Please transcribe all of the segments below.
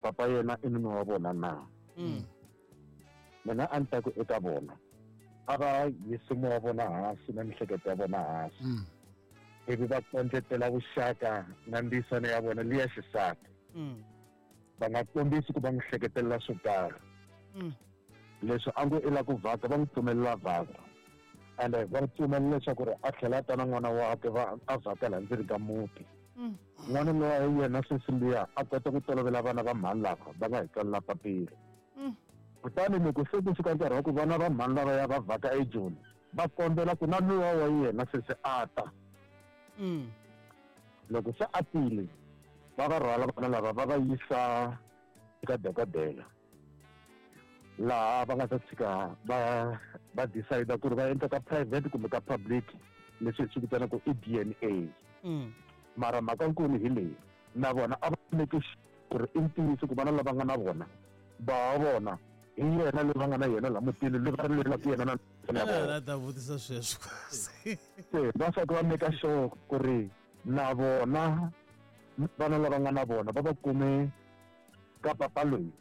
Papa yena i nuna wa vona na? Mina a ni ta ku eka vona a va yisi moya wa vona hansi na mihleketo ya vona hansi, ivi va kondletela vuxaka na ndisano ya vona liya xisati. Va nga kombisi ku va n'wi hleketelela swo karhi. Leswi a ngo i la ku vhaka, va n'wi pfumelela vhaka, ende va n'wi pfumelela leswaku ri a tlhela a ta na n'wana wakwe va a vhaka laha ndzeni ka muti. N'wana lowa hi yena sweswi luya a kota ku tolovela vana va mhani lava va nga hi tsalela papila. Kutani loko se ku fika nkarhi wa ku vana va mhani lava ya va vhaka eJoni, va kombela ku na luwa wa yena sesi a ta. Loko se a tile, va va rhwala vana lava va va yisa eka dokodela, laha va nga ta tshika va decide ku ri va endla ka private kumbe ka public, leswi hi swi vitanaka i DNA. Mara mhaka nkulu hi leyi, na vona a va make ku ri i ntiyiso ku vana lava nga na vona ba wa vona hi yena loyi va nga na yena laha mutini, loyi va rilelaka yena na ya vona. Ta vutisa sweswo. Se va fanele va make sure ku ri na vona vana lava nga na vona va va kume ka papa loyi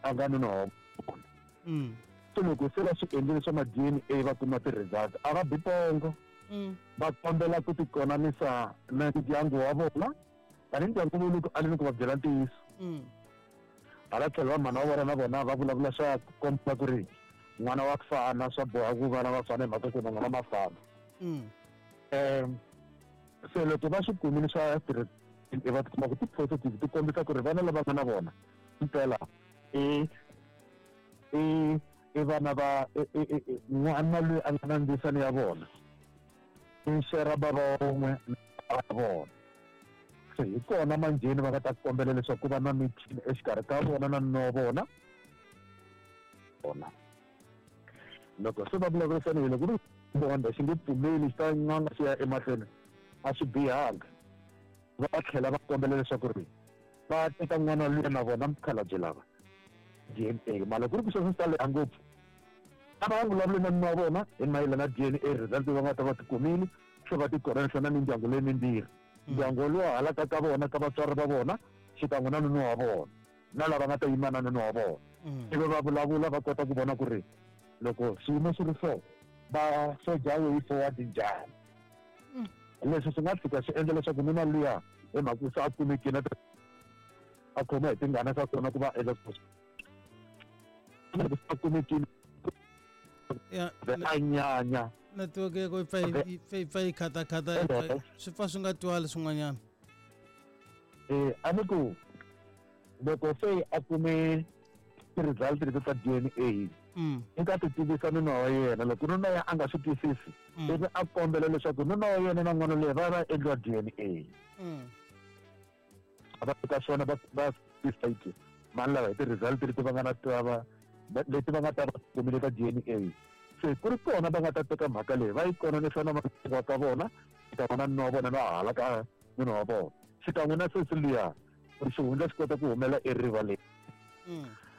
a nga nuna wa vona. Se loko se va swi endlile swa ma DNA va kuma ti-result, a va bi pongo. Va kombela ku tikonanisa na ndyangu wa vona, tani ndyangu wu le ku aleni ku va byela ntiyiso. Hala tlhelo va mhana wa vona na vona va vulavula swa komba ku ri n'wana wa fana, swa boha ku vana va fana hi mhaka ku na n'wana ma fana. Se loko va swi kumile swa va tikuma ku ti-positive, ti kombisa ku ri vana lava nga na vona mpela i vana va n'wana loyi a nga na ndzisano ya vona, i share bava wun'we na vona. Se hi kona manjheni va nga ta kombela leswaku ku va na meeting exikarhi ka vona na nuna wa vona. Vona loko se va vulavurisana, loko ri bonda xi nge pfumeli, xi ta n'anga xi ya emahlweni, a swi bihanga. Va tlhela va kombela leswaku ri va teka n'wana luya na vona mukhalabye lava DNA. Mara ku ri ku sweswo swi ta leha ngopfu, a va vulavuli na nuna wa vona hi mayelana na DNA result va nga ta va ti kumile, se va ti konanisa na mindyangu leyi mimbirhi, ndyangu lowu halaka ka vona ka vatswari va vona xikan'we na nuna wa vona na lava nga ta yima na nuna wa vona, ivi va vulavula va kota ku vona ku ri loko swiyimo swi ri so va soja way forward njhani. Leswi swi nga tshika swi endla leswaku nuna luya hi mhaka se a kumekile a khoma hi tingana ka kona ku va endla a kumekile a nyanya. Network ya ko yi pfa yi khatakhata, swi pfa swi nga twali swin'wanyana. A ni ku loko se a kume ti-result leti ta DNA, i nga ti tivisa nuna wa yena. Loko nuna ya a nga swi twisisi, ivi a kombela leswaku nuna wa yena na n'wana loyi va va endliwa DNA. Va ka swona va decide mani lava hi ti-result leti va nga na ta leti va nga ta va kumile ka DNA. Se ku ri kona va nga ta teka mhaka leyi va yi konanisa na wa ka vona xikan'we na nuna wa vona na hala ka nuna wa vona xikan'we na sesi luya, ku ri xihundla xi kota ku humela erivaleni.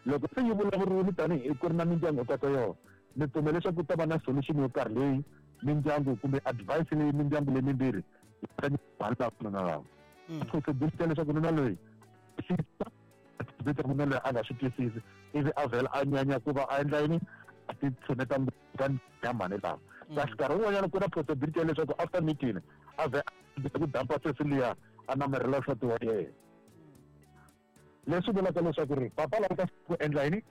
Loko se yi vulavuriwile tanihi ku ri na mindyangu hinkwato yona, ni pfumela leswaku ku ta va na solution yo karhi leyi mindyangu kumbe advice leyi mindyangu leyi mimbirhi yi ta mhani lava nuna lava. Possibility ya leswaku nuna loyi twisisa, nuna loyi a nga swi twisisi, ivi a vhela a nyanya ku va a endla yini, a ti tshuneta ka ya mhani lava. Kasi nkarhi wun'wanyana ku na possibility ya leswaku after meeting a vhe a ku dampa sesi luya, a namarhela nsati wa yena, leswi vulaka leswaku ri papa lava ta ku endla yini,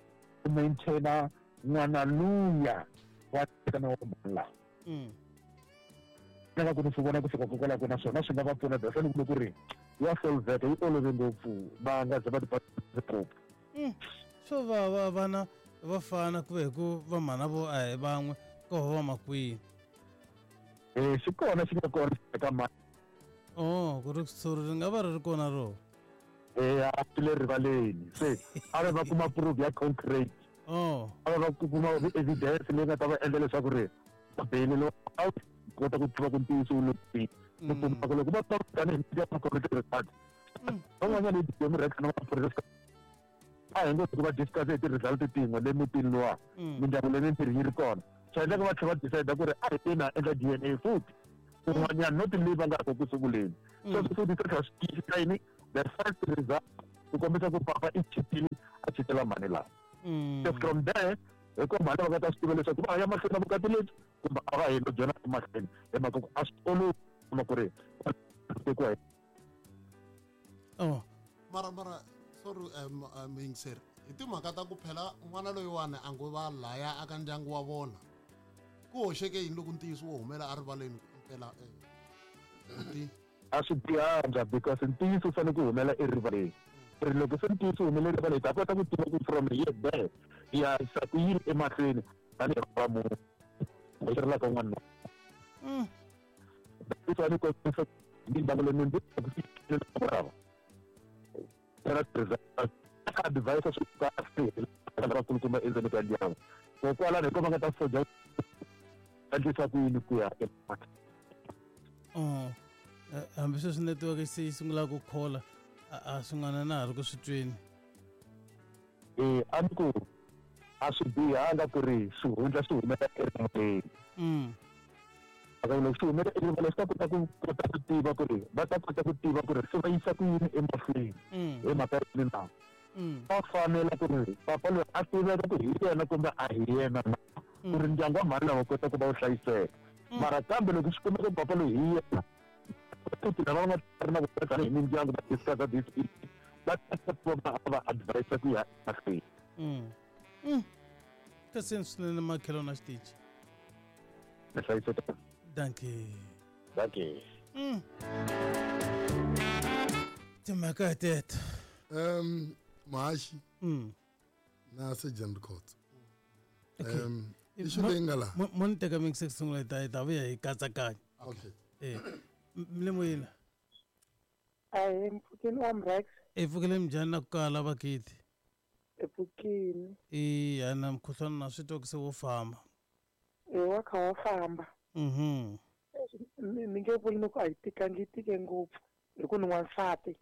ku maintaina n'wana luya wa na wa mhani lava. Nga ku ni swi vona ku fika kokwalaho, naswona swi nga va pfuna that's ni ku ri ya solveka, yi olove ngopfu, va nga ze va ti ngopfu. Swo va va vana va fana ku ve hi ku va mhana vo a hi van'we ko va makwini. Xi kona, xi nga kona eka mani. Oh, ku ri suri ri nga va ri ri kona ro. A swi le rivaleni, se a va va kuma proof ya concrete. A va va kuma evidence leyi nga ta va endla leswaku ri beli lo a kota ku tiva ku ntiyiso wu le kwihi. Ni kuma ku loko va ta tanihi mindyangu kona ti-result van'wanyana hi DM rex na maphorisa, a hi ngo ku va discuss hi ti-result tin'we le mutini luwa, mindyangu leyi mimbirhi yi ri kona, swi endleka va tlhela va decide ku ri a hi teni ha endla DNA futhi kun'wanyana, not leyi va nga ko ku sunguleni. Sweswo futhi swi tlhela swi tiyisisa yini, the first result. Ku kombisa ku papa i chitile a chitela mhani laha. Se from there hi ko mhani va nga ta swi tiva leswaku va ya mahlweni na vukati lebyi kumbe a va helo byona emahlweni hi mhaka ku a swi olovi kuma ku ri tekiwa hi. Oh. Mara sorry muyingiseri hi timhaka ta ku phela n'wana loyiwani a ngo va laya aka ndyangu wa vona ku hoxeke yini loko ntiyiso wo humela erivaleni impela a swi bihanga because ntiyiso wu fanele ku humela erivaleni ri loko se ntiyiso wu humele erivaleni ta kota ku tiva ku from here there hi ya yisa ku yini emahlweni tanihi va munhu hoxerelaka un'wana na ni kombisa ndyangu leyi ndzi advise swi kahle lavakulukumba endzeni ka ndyangu kokwalano hi ko va nga ta soja endlisa ku yini ku ya emahlweni. Hambi sweswi network se yi sungula ku khola a swin'wana na ha ri ku swi tweni. A ni ku a swi bihanga ku ri xihundla xi humela erivaleni. Loko xi humela erivaleni swi ta kota ku kota ku tiva ku ri va ta kota ku tiva ku ri se va yisa ku yini emahlweni hi mhaka yini na. Va fanela ku ri papa loyi a tiveka ku hi yena kumbe a hi yena na ku ri ndyangu wa mhani lava kota ku va wu hlayiseka. Mara kambe loko swi kumeka ku papa loyi hi yena futhi lava va nga ri na vona tanihi mindyangu va discuss this issue va ta va va advise ku ya emahlweni. Kasi swinene makhelo na xitichi. Hlayiseka. Dankie. Dankie. Timhaka teto. Mahaxi na Surgeon Records. Issue leyi nga laha. Mo ni teka mi ku sungula hi ta vuya hi katsakanya. Okay. Le moyeni. Ahee, mpfhukeni wa Mrex. E pfukile njhani na ku kala vakiti? Epfukini. Eya na mukhuhlwana na swi twa ku se wo famba. E wa kha wa famba. Ni nge vuli ni ku a yi tikangi yi tike ngopfu hi ku ni n'wansati.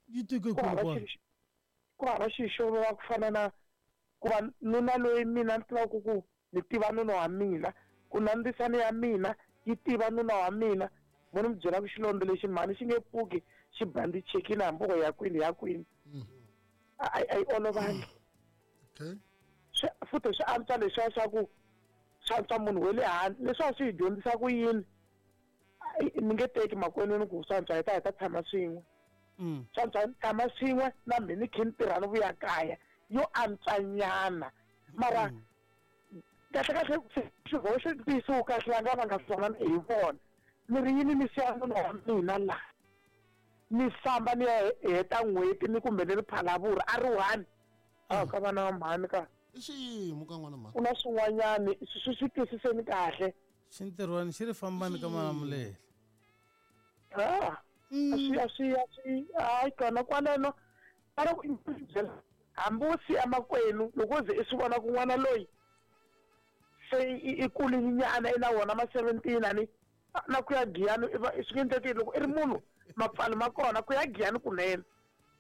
Yi tike kwihi? Ku hava xilo xo vava ku fana na ku va nuna loyi mina ni tivaka ku ni tiva nuna wa mina ku na ndzisana ya mina yi tiva nuna wa mina mo ni mi byela ku xilondza lexi mhani xi nge pfuki xi bandichekile hambi ko ya kwini ya kwini. A yi olovangi. Okay. Futhi swi antswa leswiya swa ku swi antswa munhu wa le handle leswi a swi hi dyondzisa ku yini ni nge teki makwenu ni ku swi antswa hi ta tshama swin'we. Swi antswa ni tshama swin'we na mina ni khe ni tirha ni vuya kaya yo antswanyana mara kahle kahle xihoxo ntiyiso wu kahle va nga va nga swona hi vona ni ri yini ni siya munhu wa mina laha ni famba ni ya heta n'hweti ni kumbe ni ri phalavura a ri one a ka vana va mhani ka i xiyimo ka n'wana mhani ku na swin'wanyani swi swi twisiseni kahle xintirhwani xi ri fambani ka Malamulele. A swi a swi hayi kona kwaleno mara ku byela hambi wo siya makwenu loko u ze i swi vona ku n'wana loyi se i kulinyana i na wona ma 17 ani na ku ya giyani swi nge endleki loko i ri munhu mapfalo ma kona ku ya giyani kunene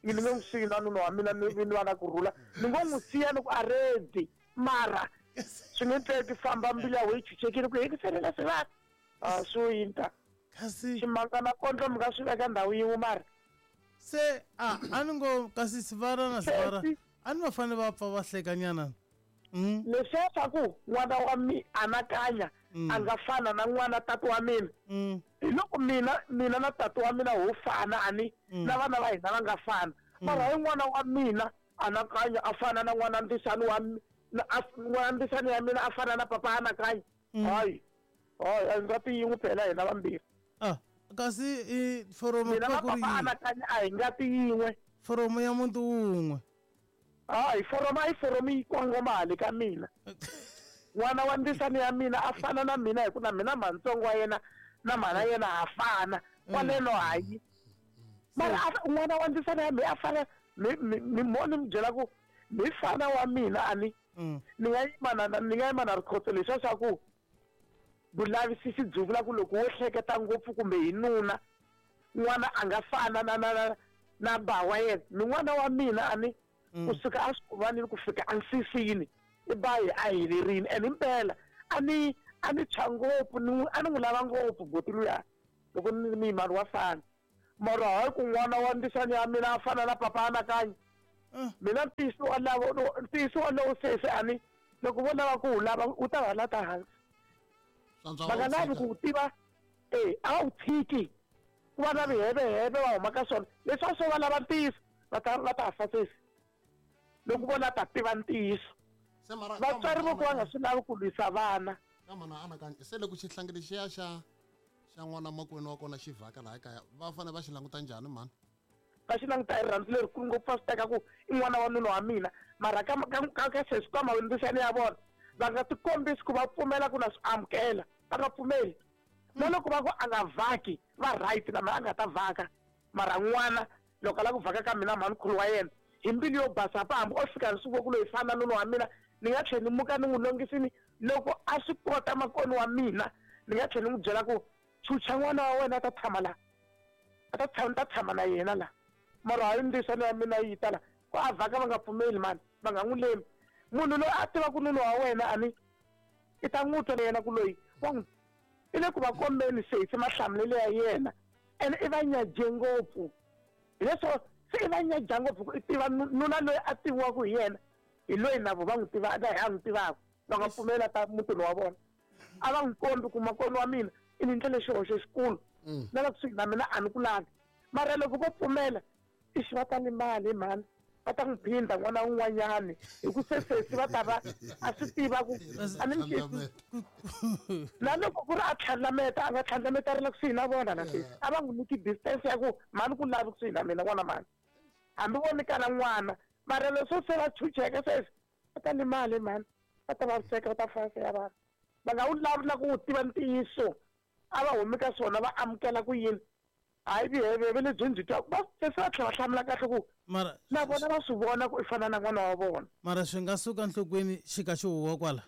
ni nge n'wi siyi na nuna wa mina ni va na kurhula ni ngo n'wi siya ni ku a ready mara swi nge endleki famba mbilu ya wena yi chuchekile ku hekiselela swi va swo yini ta kasi ximanga na kondlo mi nga swi veka ndhawu yin'we mara se a ni ngo kasi sivara na sivara a ni va fanele va pfa va hlekanyana. Leswiya swa ku n'wana wa mi anakanya a nga fana na n'wana tata wa mina hi loko mina na tata wa mina ho fana ani na vana va hina va nga fana mara hi n'wana wa mina anakanya a fana na n'wana ndzisani wa n'wana ndzisani ya mina a fana na papa anakanya hayi hayi a nga ti yin'we phela hina vambirhi. Kasi i foromo mina na papa anakanya a hi nga ti yin'we foromo ya muntu wun'we. Hayi foromo a yi foromo yi kongoma hale ka mina n'wana wa ndzisani ya mina a fana na mina hi ku na mina mhantsongo wa yena na mhana yena ha fana kwaleno hayi mara n'wana wa ndzisani ya mina a fana mi mo ni mi byela ku mi fana wa mina ani ni nga yima na rikhotso leswiya swa ku vulavisisi byi vula ku loko wo hleketa ngopfu kumbe hi nuna n'wana a nga fana na na ba wa yena ni n'wana wa mina ani kusuka a swivanini ku fika ansisini i ba hi a helerini and impela a ni tshwa ngopfu a ni n'wi lava ngopfu boti luya loko ni muyimani wa fana. Mara hayi ku n'wana wa ndzisani ya mina a fana na papa Anakanya. Mina ntiyiso walowo ntiyiso walowo sesi ani loko vo lava ku wu lava wu ta va lata hansi. Va nga lavi ku wu tiva e a wu tshiki ku va na viheveheve va huma ka swona leswi a swo va lava ntiyiso va ta va ta fa sesi loko vo la ta tiva ntiyiso. Vatswari vo ku va nga swi lavi ku lwisa vana. Ka mana Anakanya se loko xihlangi lexiya xa xa n'wana makwenu wa kona xi vhaka laha kaya va fanele va xi languta njhani mhani? Va xi languta hi rirhandzu lerikulu ngopfu va swi teka ku i n'wana wa nuna wa mina mara ka ka ka ka sweswi ka mavundzisani ya vona va nga tikombisi ku va pfumela ku na swi amukela va nga pfumeli na loko va ku a nga vhaki va right na mina a nga ta vhaka mara n'wana loko a lava ku vhaka ka mina mhanikhulu wa yena hi mbilu yo basa pa hambi o fika ni swi vo ku loyi fana nuna wa mina ni nga tlhela ni muka ni n'wi longisini loko a swi kota makoni wa mina ni nga tlhela ni n'wi byela ku chucha n'wana wa wena a ta tshama la a ta tshama ta tshama na yena la mara hayi ndzisano ya mina yi ta la ku a vhaka va nga pfumeli mani va nga n'wi lemi munhu loyi a tivaka nuna wa wena ani i ta n'wi twa na yena ku loyi wa n'wi i le ku va kombeni sesi mahlamulelo ya yena ene i va nyaje ngopfu hileswo se i va nyaja ngopfu ku i tiva nuna loyi a tiviwaka hi yena hi loyi na vo va n'wi tiva na hi a n'wi tivaka va nga pfumela ta mutini wa vona a va n'wi kombi ku makoni wa mina i ni ndlele xihoxo xikulu na la kusuhi na mina a ni ku lavi mara loko vo pfumela ixi va ta limala hi mhani va ta n'wi phindha n'wana wun'wanyani hi ku se sesi va ta va a swi tiva ku a ni mi na loko ku ri a tlhandlameta a nga tlhandlameta a ri la kusuhi na vona na sesi a va n'wi nyiki distance ya ku mhani ku lavi kusuhi na mina n'wana mhani hambi vo nyikana n'wana mara leswo se va chucheka sweswi va ta limala mhani va ta vaviseka va ta fasa ya vanhu va nga wu lavi na ku wu tiva ntiyiso a va humi ka swona va amukela ku yini hayi viheveve lebyi ndzi twa va se va tlhela va hlamula kahle ku mara na vona va swi vona ku i fana na n'wana wa vona mara swi nga suka nhlokweni xi ka xi huwa kwala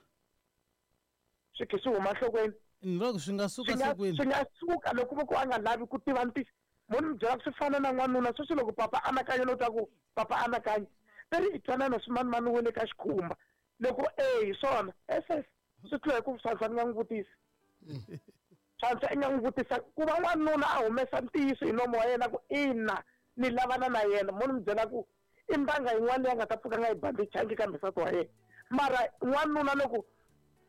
swi khe swi huma nhlokweni ni loko swi nga suka nhlokweni swi nga suka loko vo ku a nga lavi ku tiva ntiyiso mo ni mi byela ku swi fana na n'wanuna sweswi loko papa anakanya no twa ku papa anakanya ve ri i twanana swimanimani we le ka xikhumba loko e hi swona ss swi tlula hi ku swantswa ni nga n'wi vutisi swantswa i nga n'wi vutisa ku va n'wanuna a humesa ntiyiso hi nomo wa yena ku ina ni lavana na yena mo ni mi byela ku i mbanga yin'wana leyi a nga ta pfuka nga yi bandichangi kambe nsati wa yena mara n'wanuna loko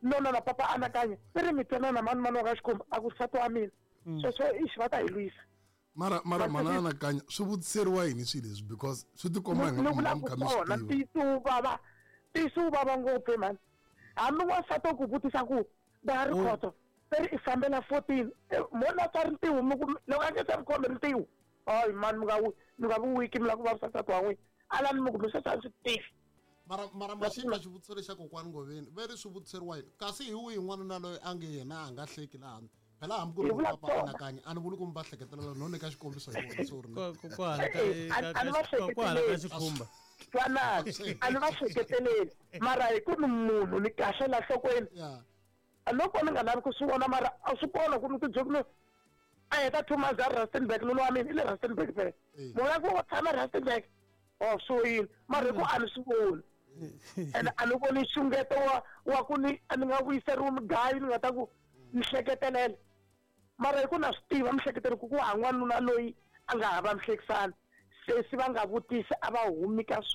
nona na papa anakanya i ri mi twanana mani mani wa ka xikhumba a ku nsati wa mina sweswo ixi va ta hi lwisa mara mara mhana anakanya swi vutiseriwa yini swilo leswi because swi tikomba ni vula ku swona ntiyiso wu vava ntiyiso wu vava ngopfu mhani hambi n'wansati wo ku vutisa ku da ri khoto se ri i fambela 14 mona tswari ntiwu mi ku loko a nge se ri khome ntiwu hayi mani mi nga mi nga vi wiki mi lava ku vavisa nsati wa n'wina alani mi ku mi sweswi a swi tivi mara mara maxini ka xivutiso lexa kokwani ngoveni ve ri swi vutiseriwa yini kasi hi wihi n'wanuna loyi a nge yena a nga hleki laha phela hambi ku ri papa anakanya a ni vuli ku mi va hleketelela no nyika xikombiso hi vona sorry kwala ka xikhumba twanani a ni va hleketeleli mara hi ku ni munhu ni kahle la nhlokweni loko ni nga lavi ku swi vona mara a swi kona ku ni ti byela a heta 2 months a Rustenburg nuna wa mina i le Rustenburg phela mona ku tshama Rustenburg o so yini mara hi ku a ni swi voni ene a ni voni nxungeto wa wa ku ni a ni nga vuyiseriwi mugayo ni nga ta ku ni hleketelela mara hi ku na swi tiva mihleketelo ku ku ha n'wanuna loyi a nga hava mihlekisani sesi va nga vutisi a va humi ka swona.